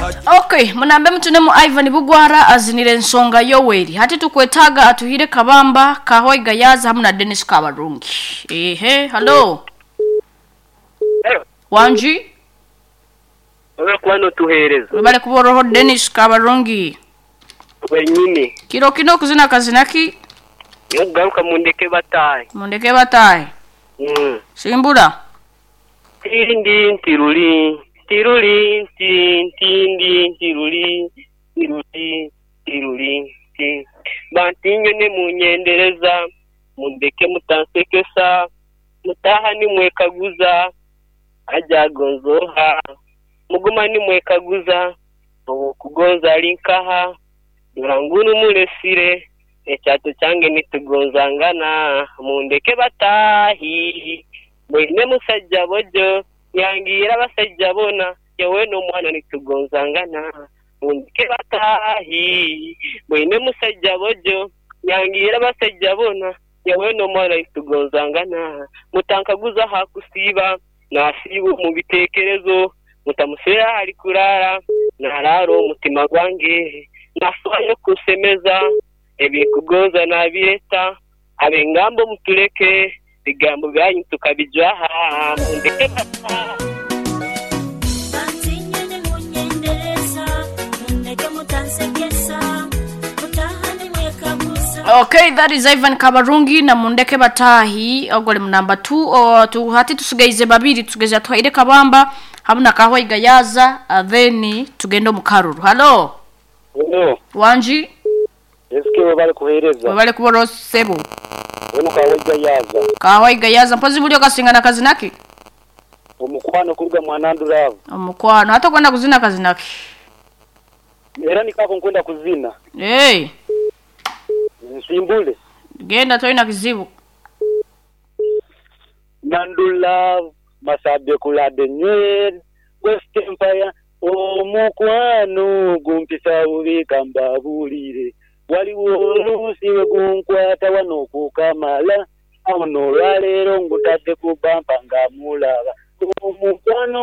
Okay, munambe mutunemu Ivan Bugwara azinire ensonga Yoweri. Hati tukwetaga atuhire Kabamba, Kahoi Gayaza hamwe na Dennis Kabarungi. Ehe, hello. Wanji, Olwokuba notuheereza webale kuboroho Dennis Kabarungi. wenyini Kiro kino kuzina kazinaki nokugaruka mundeke bataahe. Mundeke batahe. Simbura. Tindi ntiruli ntiruli nti ntindi ntiruli ntiruli ntiruli nti bantinyo ne munyendereza mundeke mutansekesa mutaha nimwekaguza ajagonzoha muguma nimwekaguza owokugonza ali nkaha dora ngunu mulesire ekyato kyange nitugonzangana mundeke bataahi mwine musajja bojo yangira abasajja bona yewe n'omwana nitugonzangana mundeke bataahi mwine musajja bojo yangira abasajja bona yewe n'omwana nitugonzangana mutankaguza hakusiiba nasiiba omu biteekerezo mutamuseera ali kuraara naraara omutima gwange nafayo kusemeza ebinkugonza nabireta abengambo mutuleke bigambo byanyu tukabijwaha mundeke bataahi. Bantinyene munyendereza mundeke mutansekesa mutahane mwekaguza. Okay, that is Ivan Kabarungi na Mundeke Batahi ogole mu number 2 o, tu, hati tusigaize babiri tusigaize atuhaire Kabamba hamwe na Kahoi Gayaza then tugende mu Karuru. Hello. Hello, Wanji, eske webale kuheereza webale kuboro sebo. ono Kawejja yaza Kahoi Gayaza mpozi bulio kasingana kazinaki? omukwano kuruga mwananduravu Omukwano hata kwenda kuzina kazinaki. era nikako nkwenda kuzina Hey, nsimbule genda toina kizibu. Nandulavu masabye kulade nywere West Empire omukwano gumpisa bubi kambabulire waliwo oluusi we gunkwata wano kukamala awo n'olwaleero ngutadde ku bampa nga mulaba omukwano.